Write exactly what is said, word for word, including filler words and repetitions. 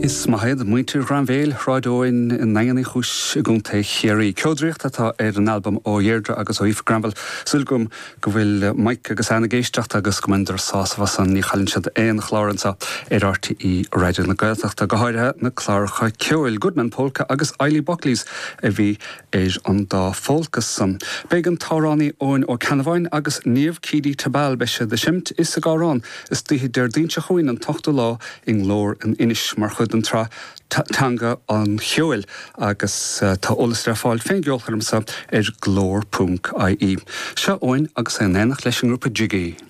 Is maith iad muintir Ghrainbhéil Shráid Eoin i nDaingean Uí Chúis i gContae Chiarraí. Ceodraíocht atá ar an albam ó Dheirdre agus ó Aoife Granville. Súil agam go bhfuil Mike agus Anne ag éisteacht agus go mbeidh sásamh as an ní chailleann siad aon chlár anseo ar RTÉ Raidió na Gaeltachta go háirithe na cláracha ceoil Goodman Polka agus Eilí Buckley's a bhí ar an dá phólca san. Beidh an t-amhránaí Eoin Ó Ceannabháin agus Niamh Keady Tabal beidh siad ag seinnt is ag amhrán istoíche Déardaoin seo chugainn an t-ochtú lá i nGlór in Inis mar chuid den tsraith Teanga an Cheoil agus uh, tá eolas le fáil fén gceolchoirm seo ar glór.ie. Seo Eoin agus é in éineacht leis an ngrúpa Jiggy.